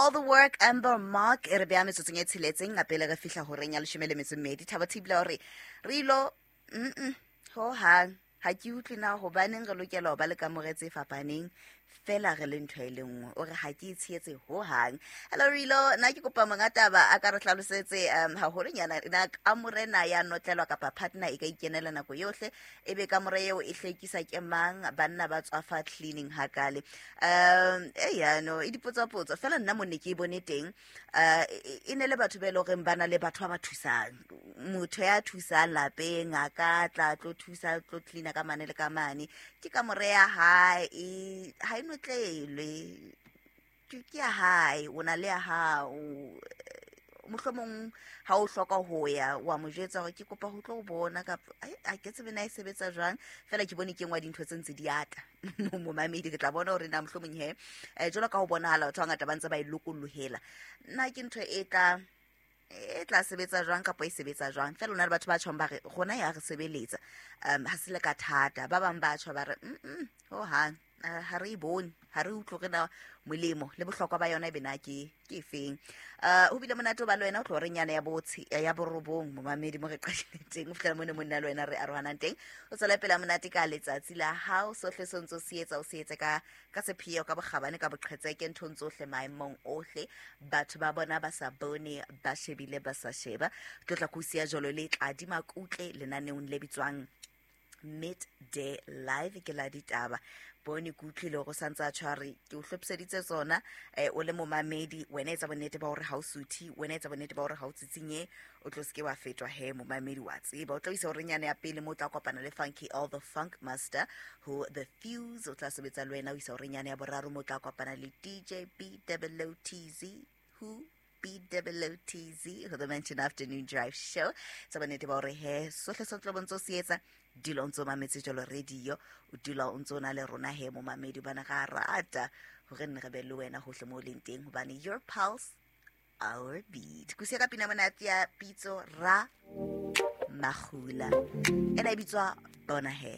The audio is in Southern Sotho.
All the work, Amber Mark. E re beya metsotsong e tsheletseng a pele re fihla horeng ya 12. Thabo Thibela hore re ilo ho hang ha ke utlwe na hobaneng re lokela ho ba le kamore tse fapaneng fela re le ntho e le nngwe. O re ha ke e tshehetse ho hang. Hello Rilo, nna ke kopa monga taba a ka re hlalosetse haholonyana na kamore na ya notlelwa kapa partner e ka ikenela nako yohle, e be kamore eo e hlwekisa ke mang, banna ba tswafa cleaning hakale. E yano e dipotsapotso fela nna mo ne ke e bone teng, e ne le batho ba e le horeng ba na le batho ba ba thusang, motho ya thusang lapeng a ka tla tlo thusa tlo cleaner ka mane le ka mane. Ke kamore ya hae, ha e notlelwe, ke ya hae, o na le ya hao. Mohlomong ha o hloka ho ya wa mo jwetsa hore ke kopa ho tlo o bona, kapa a ke tsebe na e sebetsa jwang. Fela ke bone ke nngwe ya dintho tse ntse di ata. Momamedi, re tla bona hore na mohlomong he jwalo ka ho bonahala batho ba bangata ba ntse ba e lokollohela, nna ke ntho e tla sebetsa jwang kapa e sebetsa jwang. Fela o na le batho ba tjhong ba re rona ya re sebeletsa, ha se le ka thata. Ba bang ba tjho ba re ho hang ha re e bone, ha re utlwe re na molemo le bohlokwa ba yona e be na ke efeng. Ho bile monate ho ba le wena o tlo re nyana ya botshi ya 9, momamedi, mo re qadile teng o fihlela mo ne monna le wena re arohanang teng. O tswela pele monate ka letsatsi la hao. Sohle se ntse o se etsa, o se etse ka sepheo, ka bokgabane, ka boqhetseke, nthong tsohle, maemong ohle, batho ba bona ba sa bone, ba shebile ba sa sheba. Tlo tla ko siya jalo le Tladi Makutle lenaneong le bitswang Midday Live, ke la ditaba. Bone ke utlwile hore o santse a tshware ke o hlophiseditse tsona. O le momamedi, wena etsa bonnete ba hore ha o suthe, wena etsa bonnete ba hore ha o tsitsinye, o tlo seke wa fetwa he. Momamedi, wa tseba o tla isa hore nyana ya pele mo o tla kopana le Funky All the Funk Master ho The Fuse, o tla sebetsa le wena o isa hore nyana ya boraro mo o tla kopana le DJ BWTZ who BWTZ ho The Mansion Afternoon Drive Show. Tsa bonnete ba hore he sohle se tlo bontse o se etsa, dula o ntse o mametse jalo radio, o dula o ntse o na le rona he momamedi, hobane ga rata hore nne re be le wena hohle mo o leng teng, hobane your pulse, our beat. Kusia ka pina monate ya Pitso Ra Magula, ena e bitswa Bona He.